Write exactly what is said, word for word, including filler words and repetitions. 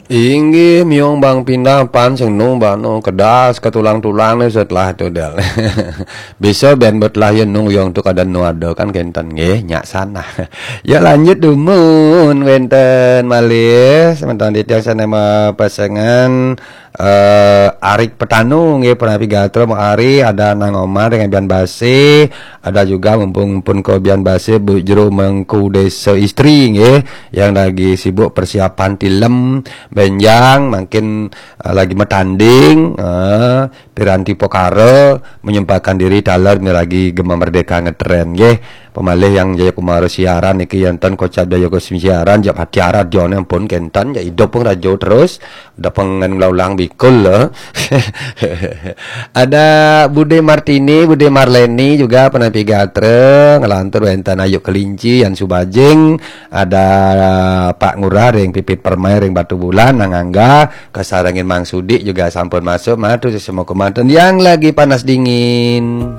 Inggih, miung bang pindah pan sing nung bano kedas ke tulang-tulang ni setelah tu del. Bisa ben betlah ya nung yang tu kada nu ada kan kenten nggih, nyak sana. Ya lanjut dumun wenten malih semeton titiang sana pasengan eh Arik Petanu nggih, Panapi Gatra mau Ari, ada Nang Omar dengan Bian Basi, ada juga mumpung pun ke Bian Basi Bu Jero Mengku Desa Istri nggih yang lagi sibuk persiapan tilem benjang, mungkin eh, lagi metanding eh Piranti Pokara menyempatkan diri taler ni lagi Gema Merdeka ngetren nggih. Pemalih yang Jayakumara siaran niki enten kocap Jayakumara siaran jak hati arat jone pun kenten jak hidup pun rajo terus. Udah pengen ulang-ulang bikul lah. Ada Bude Martini, Bude Marleni juga Panapi Gatra, ngelantur wenten Ayu Kelinci, Yan Subajing, ada Pak Ngurah ring Pipit Permai ring Batu Bulan, Nang Angga, kesarengin Mang Sudi juga sampun masuk, matur semua kemanten yang lagi panas dingin.